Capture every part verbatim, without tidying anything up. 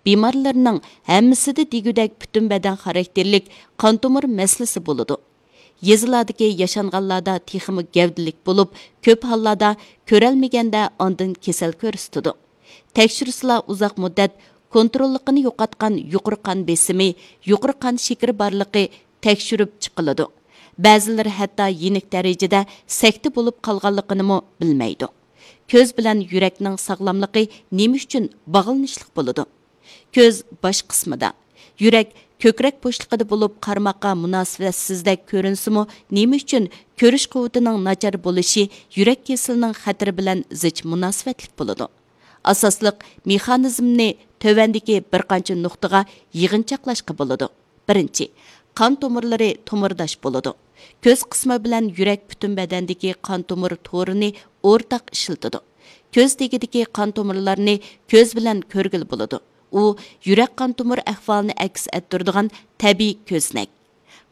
بىمارلىرىنىڭ ھەممىسىدە دېگۈدەك پۈتۈن بەدەن خاراكتېرلىك قان تومۇر مەسىلىسى بولىدۇ. يېزىلاردىكى ياشانغانلاردا تېخىمۇ گەۋدىلىك بولۇپ، كۆپ ھاللاردا كۆرەلمىگەندە ئاندىن كېسەل كۆرسىتىدۇ. تەكشۈرسىلا ئۇزاق مۇددەت كونتروللۇقىنى يوقاتقان يۇقىرى قان بېسىمى، يۇقىرى قان شېكىرى بارلىقى تەكشۈرۈپ چىقىلىدۇ. بەزىلىرى ھەتتا يېنىك دەرىجىدە سەكتە بولۇپ قالغانلىقىنىمۇ بىلمەيدۇ. كۆز بىلەن يۈرەكنىڭ ساغلاملىقى نېمە ئۈچۈن باغلىنىشلىق بولىدۇ؟ كۆز باش قىسمىدا، يۈرەك كۆكرەك بوشلۇقىدا بولۇپ، قارىماققا مۇناسىۋەتسىزدەك كۆرۈنسىمۇ، نېمە ئۈچۈن كۆرۈش قۇۋۋىتىنىڭ ناچار بولۇشى يۈرەك كېسىلىنىڭ خەتىرى بىلەن زىچ مۇناسىۋەتلىك بولىدۇ؟ ئاساسلىق مېخانىزمنى تۆۋەندىكى بىر قانچە نۇقتىغا يىغىنچاقلاشقا بولىدۇ. بىرىنچى، قان تومۇرلىرى تومۇرداش بولىدۇ. كۆز قىسمى بىلەن يۈرەك پۈتۈن بەدەندىكى قان تومۇر تورىنى ئورتاق ئىشلىتىدۇ. كۆز تېگىدىكى قان تومۇرلارنى كۆز بىلەن كۆرگىلى بولىدۇ. ئۇ يۈرەك قان تومۇر ئەھۋالىنى ئەكس ئەتتۈرىدىغان تەبىئىي كۆزنەك.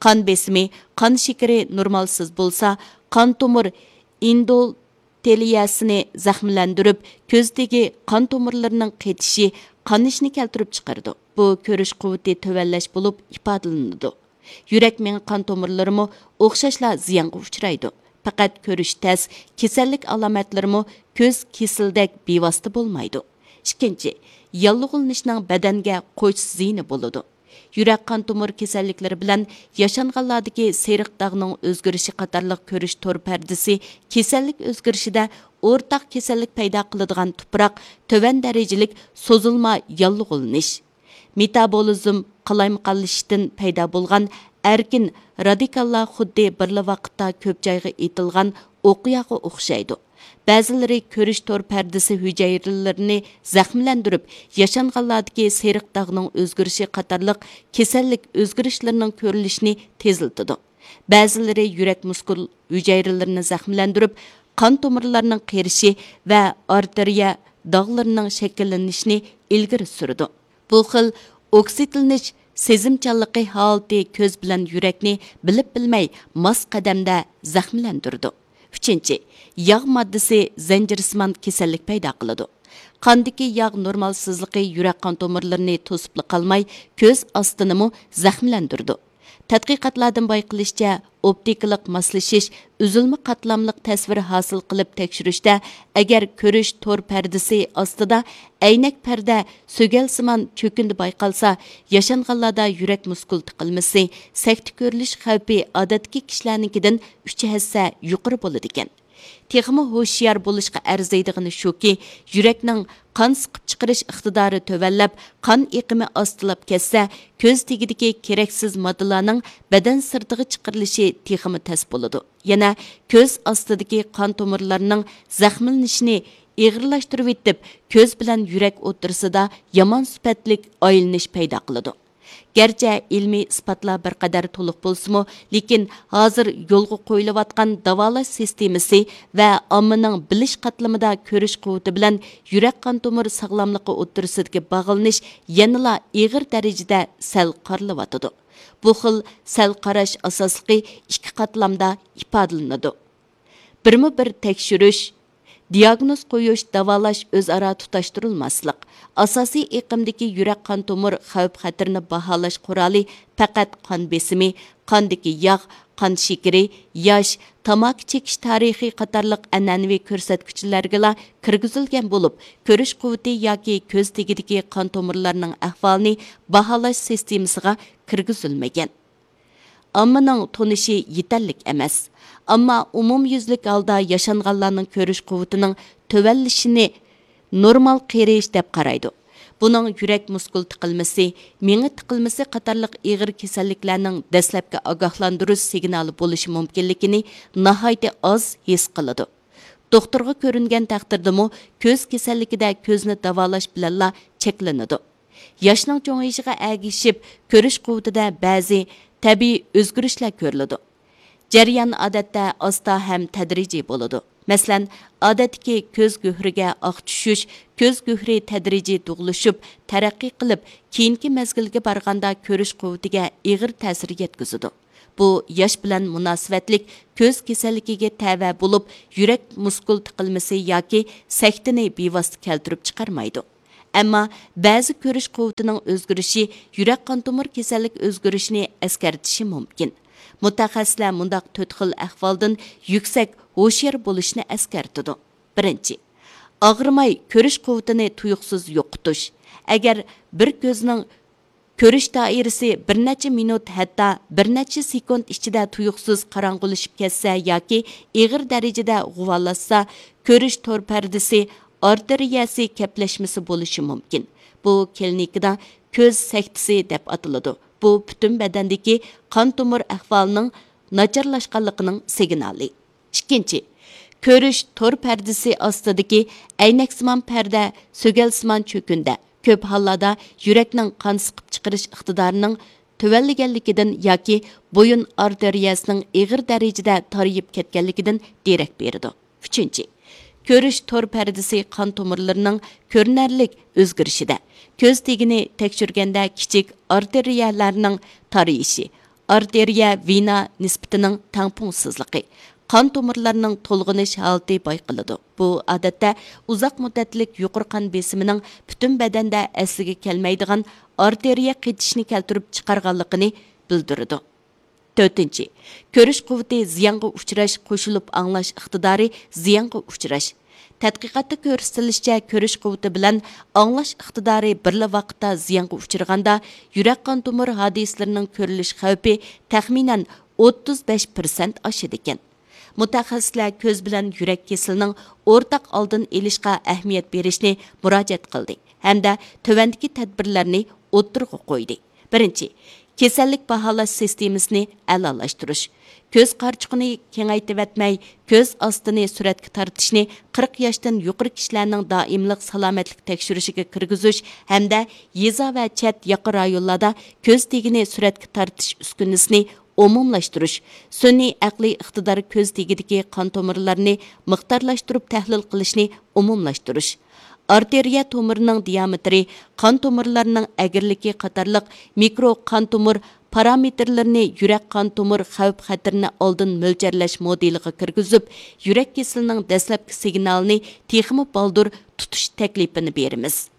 قان بېسىمى، قان شېكىرى نورمالسىز بولسا، قان تومۇر ئېندوتېلىيەسىنى زەخىملەندۈرۈپ، كۆز تېگى قان تومۇرلىرىنىڭ قېتىشى، قانىشىنى كەلتۈرۈپ چىقىرىدۇ. بۇ كۆرۈش قۇۋۋىتى تۆۋەنلەش بولۇپ ئىپادىلىنىدۇ. يۈرەك مېڭە قان تومۇرلىرىمۇ ئوخشاشلا زىيانغا ئۇچرايدۇ. پەقەت كۆرۈش تەس، كېسەللىك ئالامەتلىرىمۇ كۆز كېسىلىدەك بىۋاسىتە بولمايدۇ. ئىككىنچى، ياللۇغلىنىشنىڭ بەدەنگە قوش زىيىنى بولىدۇ. يۈرەك قان تومۇر كېسەللىكلىرى بىلەن ياشانغانلاردىكى سېرىق داغنىڭ ئۆزگىرىشى قاتارلىق كۆرۈش تور پەردىسى كېسەللىك ئۆزگىرىشىدە ئورتاق كېسەللىك پەيدا قىلىدىغان تۇپراق تۆۋەن دەرىجىلىك سوزۇلما ياللۇغلىنىش، مېتابولىزم قالايمىقانلىشىشتىن پەيدا بولغان ئەركىن رادىكاللار خۇددى بىرلا ۋاقىتتا كۆپ جايغا ئېتىلغان ئوقياغا ئوخشايدۇ. بەزىلىرى كۆرۈش تور پەردىسى ھۈجەيرىلىرىنى زەخىملەندۈرۈپ، ياشانغانلاردىكى سېرىق داغنىڭ ئۆزگىرىشى قاتارلىق كېسەللىك ئۆزگىرىشلىرىنىڭ كۆرۈلۈشىنى تېزلىتىدۇ. بەزىلىرى يۈرەك مۇسكۇل ھۈجەيرىلىرىنى زەخىملەندۈرۈپ، قان تومۇرلارنىڭ قېرىشى ۋە ئارتېرىيە داغلىرىنىڭ شەكىللىنىشىنى ئىلگىرى سۈرىدۇ. بۇ خىل ئوكسىدلىنىش سېزىمچانلىقى ھالىتى كۆز بىلەن يۈرەكنى بىلىپ بىلمەي ماس قەدەمدە زەخىملەندۈرىدۇ. ئۈچىنچى، ياغ ماددىسى زەنجىرسىمان كېسەللىك پەيدا قىلىدۇ. قاندىكى ياغ نورمالسىزلىقى يۈرەك قان تومۇرلىرىنى توسۇپلا قالماي، كۆز ئاستىنىمۇ زەخىملەندۈرىدۇ. تەتقىقاتلاردىن بايقىلىشىچە، ئوپتىكىلىق ماسلىشىش ئۈزۈلمە قاتلاملىق تەسۋىر ھاسىل قىلىپ تەكشۈرۈشتە، ئەگەر كۆرۈش تور پەردىسى ئاستىدا ئەينەك پەردە سۆگەلسىمان چۆكۈندى بايقالسا، ياشانغانلاردا يۈرەك مۇسكۇل تىقىلمىسى، سەكتە كۆرۈلۈش خەۋپى ئادەتتىكى كىشىلەرنىڭكىدىن ئۈچ ھەسسە يۇقىرى بولىدىكەن. تېخىمۇ ھوشيار بولۇشقا ئەرزىيدىغىنى شۇكى، يۈرەكنىڭ قان سىقىپ چىقىرىش ئىقتىدارى تۆۋەنلەپ، قان ئېقىمى ئاستىلاپ كەتسە، كۆز تېگىدىكى كېرەكسىز ماددىلارنىڭ بەدەن سىرتىغا چىقىرىلىشى تېخىمۇ تەس بولىدۇ. يەنە كۆز ئاستىدىكى قان تومۇرلارنىڭ زەخىملىنىشىنى ئېغىرلاشتۇرۇۋېتىپ، كۆز بىلەن يۈرەك ئوتتۇرىسىدا يامان سۈپەتلىك ئايلىنىش پەيدا قىلىدۇ. گەرچە ئىلمىي ئىسپاتلار بىر قەدەر تولۇق بولسىمۇ، لېكىن ھازىر يولغا قويۇلۇۋاتقان داۋالاش سىستېمىسى ۋە ئاممىنىڭ بىلىش قاتلىمىدا كۆرۈش قۇۋۋىتى بىلەن يۈرەك قان تومۇر ساغلاملىقى ئوتتۇرىسىدىكى باغلىنىش يەنىلا ئېغىر دەرىجىدە سەل قارىلىۋاتىدۇ. بۇ خىل سەل قاراش ئاساسلىقى ئىككى قاتلامدا ئىپادىلىنىدۇ. بىرمۇ بىر تەكشۈرۈش، دىياگنوز قويۇش، داۋالاش ئۆزئارا تۇتاشتۇرۇلماسلىق. ئاساسىي ئېقىمدىكى يۈرەك قان تومۇر خەۋپ خەتىرىنى باھالاش قورالى پەقەت قان بېسىمى، قاندىكى ياغ، قان شېكىرى، ياش، تاماكا چېكىش تارىخى قاتارلىق ئەنئەنىۋى كۆرسەتكۈچلەرگىلا كىرگۈزۈلگەن بولۇپ، كۆرۈش قۇۋۋىتى ياكى كۆز تېگىدىكى قان تومۇرلارنىڭ ئەھۋالىنى باھالاش سىستېمىسىغا كىرگۈزۈلمىگەن. ئاممىنىڭ تونۇشى يېتەرلىك ئەمەس. ئەمما ئومۇميۈزلۈك ھالدا ياشانغانلارنىڭ كۆرۈش قۇۋۋىتىنىڭ تۆۋەنلىشىنى نورمال قېرىيىش دەپ قارايدۇ. بۇنىڭ يۈرەك مۇسكۇل تىقىلمىسى، مېڭە تىقىلمىسى قاتارلىق ئېغىر كېسەللىكلەرنىڭ دەسلەپكى ئاگاھلاندۇرۇش سىگنالى بولۇشى مۇمكىنلىكىنى ناھايىتى ئاز ھېس قىلىدۇ. دوختۇرغا كۆرۈنگەن تەقدىردىمۇ كۆز كېسەللىكىدە كۆزنى داۋالاش بىلەنلا چەكلىنىدۇ. ياشنىڭ چوڭىيىشىغا ئەگىشىپ، كۆرۈش قۇۋۋىتىدە بەزى تەبىئىي ئۆزگىرىشلەر كۆرۈلىدۇ. جەريان ئادەتتە ئاستا ھەم تەدرىجىي بولىدۇ. مەسىلەن، ئادەتتىكى كۆز گۆھىرىگە ئاق چۈشۈش، كۆز گۆھىرى تەدرىجىي دۇغلىشىپ، تەرەققىي قىلىپ، كېيىنكى مەزگىلگە بارغاندا كۆرۈش قۇۋۋىتىگە ئېغىر تەسىر يەتكۈزىدۇ. بۇ ياش بىلەن مۇناسىۋەتلىك كۆز كېسەللىكىگە تەۋە بولۇپ، يۈرەك مۇسكۇل تىقىلمىسى ياكى سەكتىنى بىۋاسىتە كەلتۈرۈپ چىقارمايدۇ. ئەمما بەزى كۆرۈش قۇۋۋىتىنىڭ ئۆزگىرىشى يۈرەك قان تومۇر كېسەللىك ئۆزگىرىشىنى ئەسكەرتىشى مۇمكىن. مۇتەخەسسىسلەر مۇنداق تۆت خىل ئەھۋالدىن يۈكسەك ھوشيار بولۇشنى ئەسكەرتىدۇ. بىرىنچى، ئاغرىماي كۆرۈش قۇۋۋىتىنى تۇيۇقسىز يوقىتىش. ئەگەر بىر كۆزنىڭ كۆرۈش دائىرىسى بىر نەچچە مىنۇت، ھەتتا بىر نەچچە سېكۇنت ئىچىدە تۇيۇقسىز قاراڭغۇلىشىپ كەتسە ياكى ئېغىر دەرىجىدە غۇۋالاشسا، كۆرۈش تور پەردىسى ئارتېرىيەسى كەپلەشمىسى بولۇشى مۇمكىن. بۇ كلىنىكىدا كۆز سەكتىسى دەپ ئاتىلىدۇ. بۇ پۈتۈن بەدەندىكى قان تومۇر ئەھۋالىنىڭ ناچارلاشقانلىقىنىڭ سىگنالى. ئىككىنچى، كۆرۈش تور پەردىسى ئاستىدىكى ئەينەكسىمان پەردە سۆگەلسىمان چۆكۈندە، كۆپ ھاللاردا يۈرەكنىڭ قان سىقىپ چىقىرىش ئىقتىدارىنىڭ تۆۋەنلىگەنلىكىدىن ياكى بويۇن ئارتېرىيەسىنىڭ ئېغىر دەرىجىدە تارىيىپ كەتكەنلىكىدىن دېرەك بېرىدۇ. ئۈچىنچى، كۆرۈش تور پەردىسى قان تومۇرلىرىنىڭ كۆرۈنەرلىك ئۆزگىرىشىدە، كۆز تېگىنى تەكشۈرگەندە كىچىك ئارتېرىيەلەرنىڭ تارىيىشى، ئارتېرىيە ۋېنا نىسبىتىنىڭ تەڭپۇڭسىزلىقى، قان تومۇرلارنىڭ تولغىنىش ھالىتى بايقىلىدۇ. بۇ، ئادەتتە، ئۇزاق مۇددەتلىك يۇقىرى قان بېسىمىنىڭ پۈتۈن بەدەندە ئەسلىگە كەلمەيدىغان ئارتېرىيە قېتىشنى كەلتۈرۈپ چىقارغانلىقىنى بىلدۈرىدۇ. تۆتىنچى، كۆرۈش قۇۋۋىتى زىيانغا ئۇچراش، قوشۇلۇپ ئاڭلاش ئىقتىدارى زىيانغا ئۇچراش. تەتقىقاتتا كۆرسىتىلىشىچە، كۆرۈش قۇۋۋىتى بىلەن ئاڭلاش ئىقتىدارى بىرلا ۋاقىتتا زىيانغا ئۇچرىغاندا، يۈرەك قان تومۇر ھادىسىلىرىنىڭ كۆرۈلۈش خەۋپى تەخمىنەن ئوتتۇز بەش پىرسەنت ئاشىدىكەن. مۇتەخەسسىسلەر كۆز بىلەن يۈرەك كېسىلىنىڭ ئورتاق ئالدىنى ئېلىشقا ئەھمىيەت بېرىشنى مۇراجىئەت قىلدى ھەمدە تۆۋەندىكى تەدبىرلەرنى ئوتتۇرىغا قويدى. بىرىنچى، كېسەللىك باھالاش سىستېمىسىنى ئەلالاشتۇرۇش. كۆز قارىچۇقىنى كېڭەيتىۋەتمەي، كۆز ئاستىنى سۈرەتكە تارتىشنى قىرىق ياشتىن يۇقىرى كىشىلەرنىڭ دائىملىق سالامەتلىك تەكشۈرۈشىگە كىرگۈزۈش ھەمدە يېزا ۋە چەت ياقا رايونلاردا كۆز تېگىنى سۈرەتكە تارتىش ئۈسكۈنىسىنى ئومۇملاشتۇرۇش، سۈنئىي ئەقلىي ئىقتىدار كۆز تېگىدىكى قان تومۇرلىرىنى مىقدارلاشتۇرۇپ تەھلىل قىلىشنى ئومۇملاشتۇرۇش، ئارتېرىيە تومۇرىنىڭ دىئامېتىرى، قان تومۇرلىرىنىڭ ئەگرىلىكى قاتارلىق مىكرو قان تومۇر پارامېتىرلىرىنى يۈرەك قان تومۇر خەۋپ خەتىرىنى ئالدىن مۆلچەرلەش مودېلىغا كىرگۈزۈپ، يۈرەك كېسىلىنىڭ دەسلەپكى سىگنالىنى تېخىمۇ بالدۇر تۇتۇش تەكلىپىنى بېرىمىز.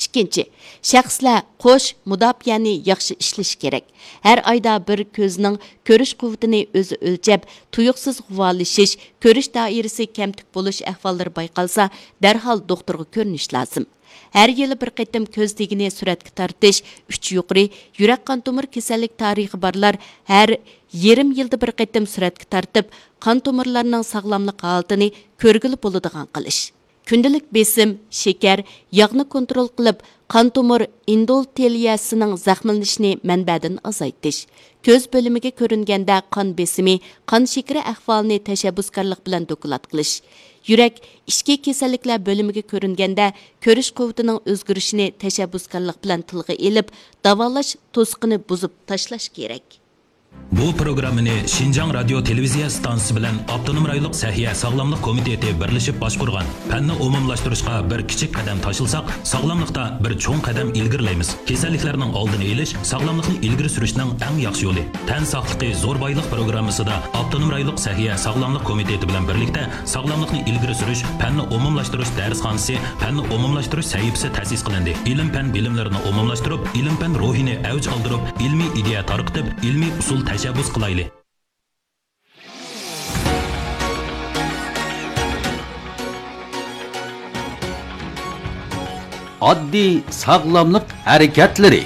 ئىككىنچى، شەخسلەر قوش مۇداپىئەنى ياخشى ئىشلىشى كېرەك. ھەر ئايدا بىر كۆزنىڭ كۆرۈش قۇۋۋىتىنى ئۆزى ئۆلچەپ، تۇيۇقسىز غۇۋالىشىش، كۆرۈش دائىرىسى كەمتۈك بولۇش ئەھۋاللىرى بايقالسا، دەرھال دوختۇرغا كۆرۈنۈش لازىم. ھەر يىلى بىر قېتىم كۆز تېگىنى سۈرەتكە تارتىش، ئۈچ يۇقىرى، يۈرەك قان تومۇر كېسەللىك تارىخى بارلار ھەر يېرىم يىلدا بىر قېتىم سۈرەتكە تارتىپ، قان تومۇرلارنىڭ ساغلاملىق ھالىتىنى كۆرگىلى بولىدىغان قىلىش. كۈندىلىك بېسىم، شېكەر، ياغنى كونترول قىلىپ، قان تومۇر ئېندوتېلىيەسىنىڭ زەخىملىنىشىنى مەنبەدىن ئازايتىش. كۆز بۆلۈمىگە كۆرۈنگەندە قان بېسىمى، قان شېكىرى ئەھۋالىنى تەشەببۇسكارلىق بىلەن دوكلات قىلىش. يۈرەك، ئىچكى كېسەللىكلەر بۆلۈمىگە كۆرۈنگەندە كۆرۈش قۇۋۋىتىنىڭ ئۆزگىرىشىنى تەشەببۇسكارلىق بىلەن تىلغا ئېلىپ، داۋالاش توسۇقىنى بۇزۇپ تاشلاش كېرەك. بۇ پروگراممىنى شىنجاڭ رادىيو تېلېۋىزىيە ئىستانسىسى بىلەن ئاپتونوم رايونلۇق سەھىيە ساغلاملىق كومىتېتى بىرلىشىپ باشقۇرغان. پەننى ئومۇملاشتۇرۇشقا بىر كىچىك قەدەم تاشلىساق، ساغلاملىقتا بىر چوڭ قەدەم ئىلگىرىلەيمىز. كېسەللىكلەرنىڭ ئالدىنى ئېلىش، ساغلاملىقنى ئىلگىرى سۈرۈشنىڭ ئەڭ ياخشى يولى. تەن ساقلىقى زور بايلىق پروگراممىسىدا ئاپتونوم رايونلۇق سەھىيە ساغلاملىق كومىتېتى بىلەن بىرلىكتە ساغلاملىقنى ئىلگىرى سۈرۈش پەننى ئومۇملاشتۇرۇش دەرسخانىسى، پەننى ئومۇملاشتۇرۇش سەھىپىسى تەسىس قىلىندى. ئىلىم-پەن بىلىملىرىنى ئومۇملاشتۇرۇپ، ئىلىم-پەن روھىنى ئەۋج ئالدۇرۇپ، ئىلمىي ئىدىيە تارقىتىپ، ئىلمىي ئۇسۇل تەشەببۇس قىلايلى. ئاددىي ساغلاملىق ھەرىكەتلىرى.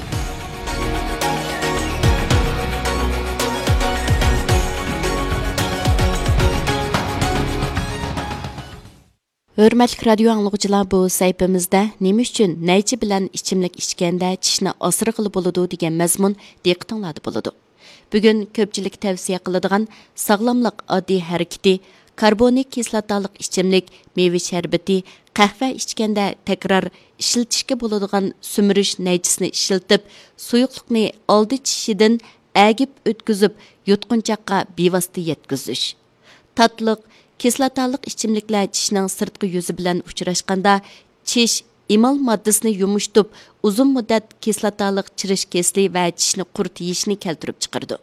ھۆرمەتلىك رادىيو ئاڭلىغۇچىلار، بۇ سەھىپىمىزدە نېمە ئۈچۈن نەيچە بىلەن ئىچىملىك ئىچكەندە چىشنى ئاسرىغىلى بولىدۇ دېگەن مەزمۇن دىققىتىڭلاردا بولىدۇ. بۈگۈن كۆپچىلىككە تەۋسىيە قىلىدىغان ساغلاملىق ئاددىي ھەرىكىتى، كاربونىك كىسلاتالىق ئىچىملىك، مېۋە شەربىتى، قەھۋە ئىچكەندە تەكرار ئىشلىتىشكە بولىدىغان سۈمۈرۈش نەيچىسىنى ئىشلىتىپ، سۇيۇقلۇقنى ئالدى چىشىدىن ئەگىپ ئۆتكۈزۈپ، يۇتقۇنچاققا بىۋاسىتە يەتكۈزۈش. تاتلىق، كىسلاتالىق ئىچىملىكلەر چىشنىڭ سىرتقى يۈزى بىلەن ئۇچراشقاندا، چىش ئېمال ماددىسىنى يۇمشىتىپ، ئۇزۇن مۇددەت كىسلاتالىق چىرىش كېسىلى ۋە چىشنى قۇرت يېيىشنى كەلتۈرۈپ چىقىرىدۇ.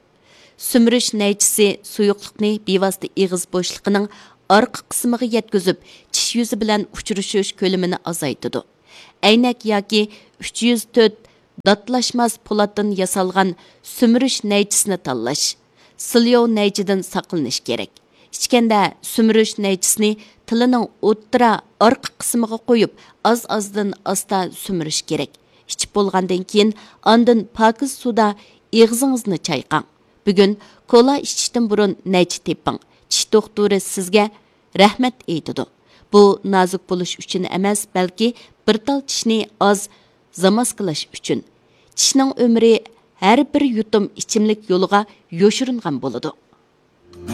سۈمۈرۈش نەيچىسى سۇيۇقلۇقنى بىۋاسىتە ئېغىز بوشلۇقىنىڭ ئارقا قىسمىغا يەتكۈزۈپ، چىش يۈزى بىلەن ئۇچرىشىش كۆلىمىنى ئازايتىدۇ. ئەينەك ياكى ئۈچ يۈز تۆت داتلاشماس پولاتتىن ياسالغان سۈمۈرۈش نەيچىسىنى تاللاش. سىليو نەيچىدىن ساقلىنىش كېرەك. ئىچكەندە سۈمۈرۈش نەيچىسىنى تىلىنىڭ ئوتتۇرا ئارقا قىسمىغا قويۇپ، ئاز-ئازدىن ئاستا سۈمۈرۈش كېرەك. ئىچىپ بولغاندىن كېيىن، ئاندىن پاكىز سۇدا ئېغىزىڭىزنى چايقاڭ. بۈگۈن كولا ئىچىشتىن بۇرۇن نەيچە تېپىڭ. چىش دوختۇرى سىزگە رەھمەت ئېيتىدۇ. بۇ نازۇك بولۇش ئۈچۈن ئەمەس، بەلكى بىر تال چىشنى ئاز زاماسكىلاش ئۈچۈن. چىشنىڭ ئۆمرى ھەر بىر يۇتۇم ئىچىملىك يولىغا يوشۇرۇنغان بولىدۇ.